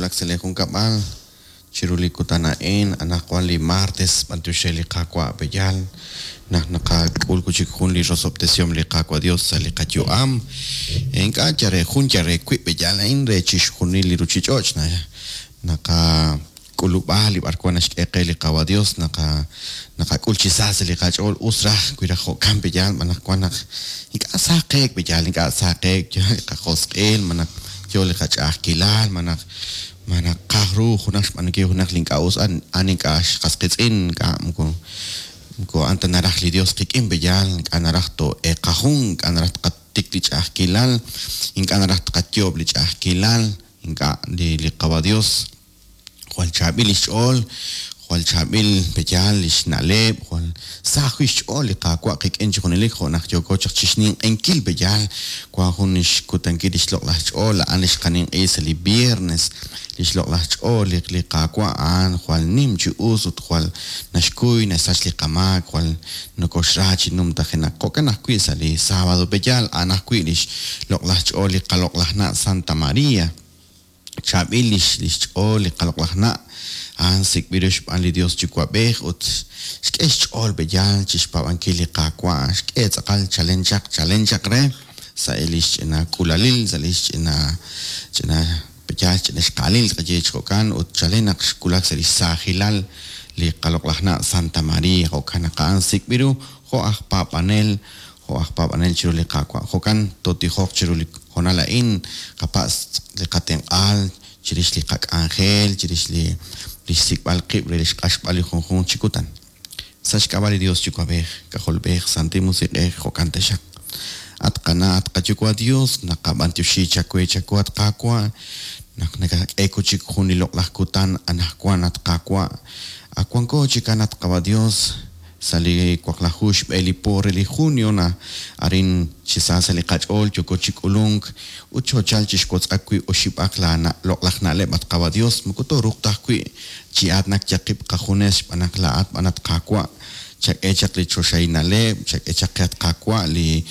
wulak sa' lee junkab'al chiru li kutan a'in, anaqwan li martes, b'antiox re li Qaawa' pe'yaal naq naqak'ul wi' chik jun li rosob'tesihom li Qaawa' Dios sa' li qayu'am. Ink'a' yal re jun yal re wib' pe'yaal a'in re chixjunil li ruchich'och' naqak'ulub'a li b'arwan naxk'e qe li Qaawa' Dios, naqak'ul chi sa sa' li qach'ool. Us raj wi raj jo'kan pe'yaal, anaqwan naq ink'a' sa qeek pe'yaal, ink'a' sa qeek, yo li qajosq'il, malaj yo li qach'a'ajkilal, malaj naqaj ru junaq xb'aanunkil junaq li ink'a' us, a'an ink'a' xqas qiitz'in, ink'a' moko a'an ta naraj li Dios qik'in pe'yaal, ink'a' naraj too'eeqajun, ink'a' naraj tqatik li ch'a'ajkilal, ink'a' naraj tqayoob' li ch'a'ajkilal, ink'a' li Qaawa' Dios jwal chaab'il lix ch'ool, jwal chaab'il pe'yaal lix na'leb', jwal sa ajwi' xch'ool li Qaawa' qik'in chi junelik, jo' naq yooko chaq chixninq'ehinkil pe'yaal wan jun lix kutankil lix loq'laj ch'ool, a'an li xqaninq'ehi sa' li viernes, lix loq'laj ch'ool li Qaawa' a'an jwal nim chi us ut jwal naxkuy naxsach li qamaak, jwal nokoxra chi numtajenaq. Jo'kan ajwi' sa' li sábado pe'yaal a'an ajwi' lix loq'laj ch'ool li qaloq'laj na' Santa Maria. Chaab'il lix ch'ool li qaloq'laj na', a'an sik'b'il ru xb'aan li Dios Yuwa'b'ej ut xk'e xch'ool pe'yaal chixpaab'ankil li Qaawa', xk'e tz'aqal chalen chaq, chalen chaq re sa' lix ch'ina k'uulalil, sa' lix ch'ina ch'ina pe'yaal ch'ina xqaalil tqaye chi jo'kan, ut chalen naq xwulak sa' lix saajilal li qaloq'laj na' Santa Maria, jo'kan naq a'an sik'b'il ru jo' aj paab'anel, jo' aj paab'anel chiru li Qaawa'. Jo'kan tootijoq chiru li hoonal a'in, qapatz' li qatenq'aal chirix li qak'anjel, chirix li xsik'b'al qib' re li xq'axb'al li junjunq chi kutan. Sa' xk'ab'a' li Dios Yuwa'b'ej, K'ajolb'ej, Santil Musiq'ej, jo'kan taxaq. At qana', at qaYuwa' Dios, naqab'antioxi chawe chawu, at Qaawa', naq nakak'e wi' chik jun li loq'laj kutan anaqwan, at Qaawa'. Ak wanko chikan, at Qaawa' Dios, sa' li waqlaju xb'e li po re li junio na arin chi sa sa' li qach'ool yooko chi k'ulunk ut xoochal chi xwotz'ak wi' oxib'aq la loq'laj na'leb', at Qaawa' Dios. Moko tooruuq ta ajwi' chi aatinak yal qib' qajunes xb'aan naq laa'at b'an, at Qaawa', chak'e chaq li choxahil na'leb', chak'e chaq qe, at Qaawa', li